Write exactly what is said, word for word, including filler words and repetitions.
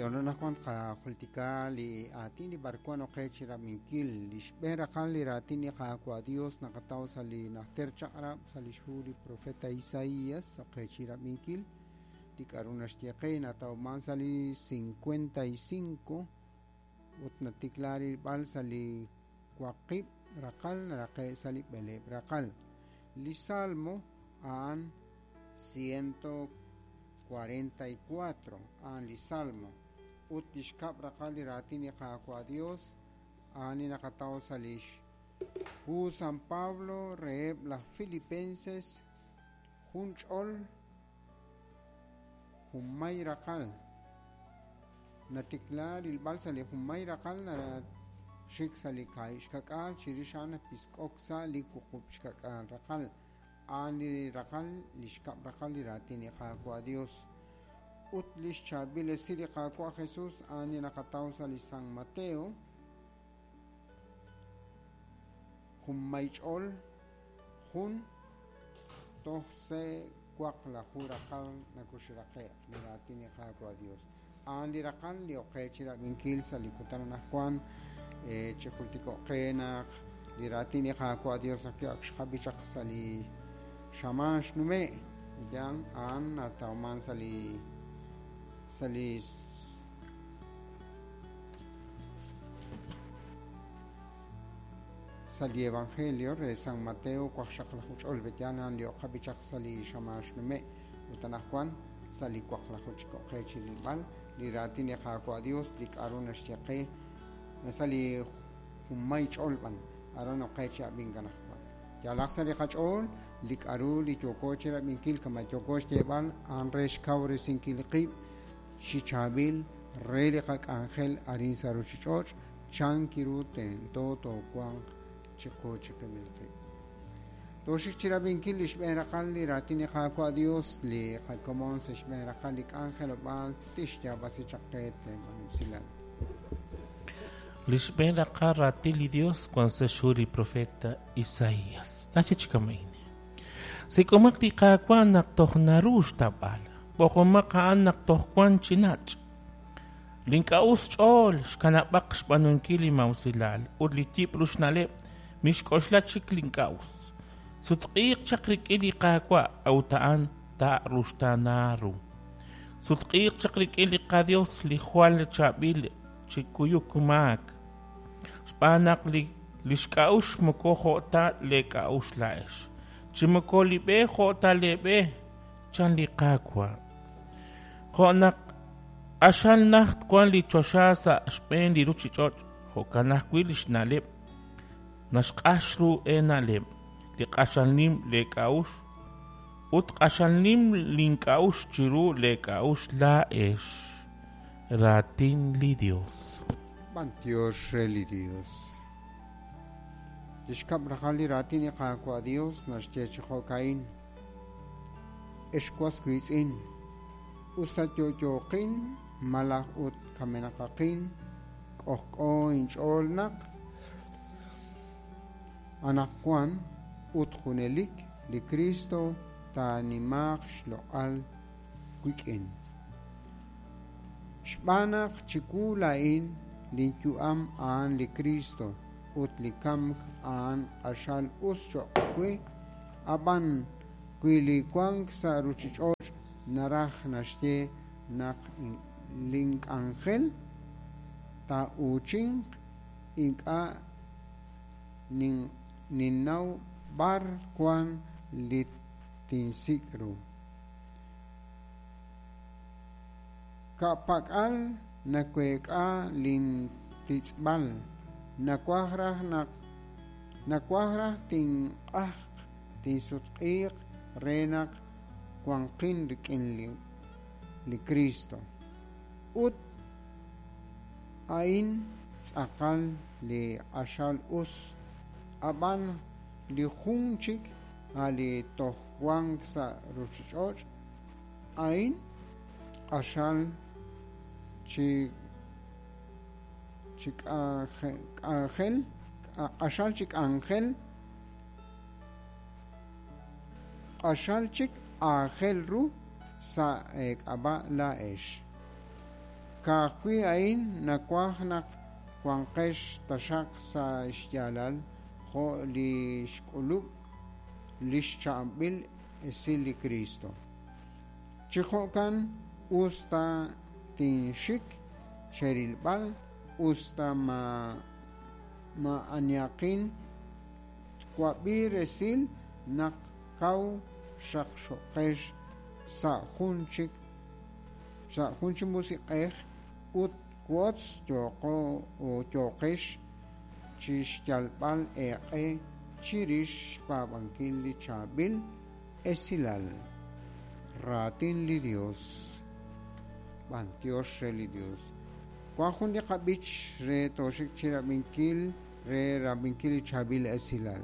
Yononajwan qajultika li aatin li b'arwan oqe chi rab'inkil li xb'een raqal li raatin li Qaawa' Dios naqataw sa' li najter chaq'rab' sa' li xhu li profeta Isaías oqe chi rab'inkil li k'a'ru naxye qe natawman sa' li cincuenta y cinco ut natikla rilb'al sa' li waqib' raqal naraqe' sa' li b'eleeb' raqal li Salmo a'an ciento cuarenta y cuatro a'an li Salmo ut li xkab' raqal li raatin li Qaawa' Dios a'an li naqataw sa' li xhu San Pablo reheb' laj Filipenses jun ch'ol junmay raqal natikla rilb'al sa' li junmay raqal naraxik sa' li kaahib' xkak'aal chirix a'an napisk'ok sa' li wuqub' xkak'aal raqal a'an li raqal li xkab' raqal li raatin li Qaawa' Dios ut li xchaab'il esil li Qaawa' Jesus a'an li naqataw sa' li San Mateo junmay ch'ol jun toj se waqlaju raqal nakuxraqe' li raatin li Qaawa' Dios a'an li raqal li oqe chi rab'inkil sa' li kutan anaqwan chi jultiko'qe naq li raatin li Qaawa' Dios ak xqab'i chaq sa' li xamaan xnume' yan a'an natawman sa' li sa' li sa' li Evangelio re San Mateo waqxaqlaju ch'ol betyan a'an li oqab'i chaq sa' li xamaan xnume' ut anaqwan sa' li waqlaju chiko'qe chi rilb'al li raatin li Qaawa' Dios li k'a'ru naxye qe sa' li junmay ch'ol b'an aran oqe chi ab'ink anaqwan yalaq sa' li qach'ool li k'a'ru li yooko chi rab'inkil kama yooko xyeeb'al a'an re xkawresinkil qib' chi chaab'il re li qak'anjel arin sa' ruchich'och' chan kiru tento toowanq chiqu chiqib'il qib'. Toxik chi rab'inkil li xb'een raqal li raatin li Qaawa' Dios li qakomon sa' xb'een raqal li k'anjelob'aal tixyaab'asi chaq qe teeb'anusilal. Li xb'een raqal raatin li Dios wan sa' xhu li profeta Isaías. Naxye chi kama'in. Sik'omaq li Qaawa' naq toj naru xtab'al. B'oqomaq a'an naq toj wan chi nach'. Link'a'us ch'ool xkanab'aq xb'aanunkil li mawsilal ut li yib' ru xna'leb' mixk'oxla chik link'a'us. Sutq'iiq chaq rik'in li Qaawa' a'ut a'an taa'ruxtaana ru. Sutq'iiq chaq rik'in li qaDios li jwal chaab'il chi kuyuk maak. Xb'aan naq li li xk'a'uxl moko jo' ta leek'a'uxl laa'ex. Chi moko li b'e jo' ta leeb'e chan li Qaawa'. Jo' naq q'axal najt wan li choxa sa' xb'een li ruchich'och' jo'kan ajwi' li xna'leb' naxq'ax ru eena'leb' li q'axal nim leek'a'uxl ut q'axal nim link'a'uxl chiru leek'a'uxl laa'ex. Raatin li Dios. B'antiox re li Dios. Li xkab' raqal li raatin li Qaawa' Dios naxye chi jo'ka'in. Ex was wiitz'in usa yo'yooqin malaj ut kamenaqaqin k'ojk'o inch'ool naq anaqwan ut junelik li Cristo taanimaaq xloq'al wik'in. Xb'aan naq chiwu laa'in linyu'am a'an li Cristo ut li kamk a'an q'axal us cho'q we ab'an wi li wank sa' ruchich'och' naraj naxye naq link'anjel taa'uuchinq ink'a' ninnaw b'ar wan li tinsik' ru. Ka'pak'al naweek'a lintitz'b'al nawaj raj naq nawaj raj tinq'ajq tinsutq'iiq re naq wanqin rik'in li li Cristo ut a'in tz'aqal li q'axal us ab'an li jun chik a' li toj wank sa' ruchich'och' a'in q'axal chi chi k'anjel q'axal chi k'anjel q'axal chik aajel ru sa' k'ab'a' laa'ex. Ka'ajwi' a'in nawaj naq wanqex taxaq sa' xyaalal jo' li xk'ulub' li xcha'anb'il esil li Cristo. Chi jo'kan us ta tinxik cherilb'al, us ta ma ma'aniaqin twab'i resil naq kaw xaqxoqex sa' jun chik sa' jun chi musiq'ej ut wotz yooqo o yooqex chi xyalb'al eeq'e chirix xpaab'ankil li chaab'il esilal. Raatin li Dios. B'antiox re li Dios. Wan jun li qab'ich re tooxik chirab'inkil re rab'inkil li chaab'il esilal.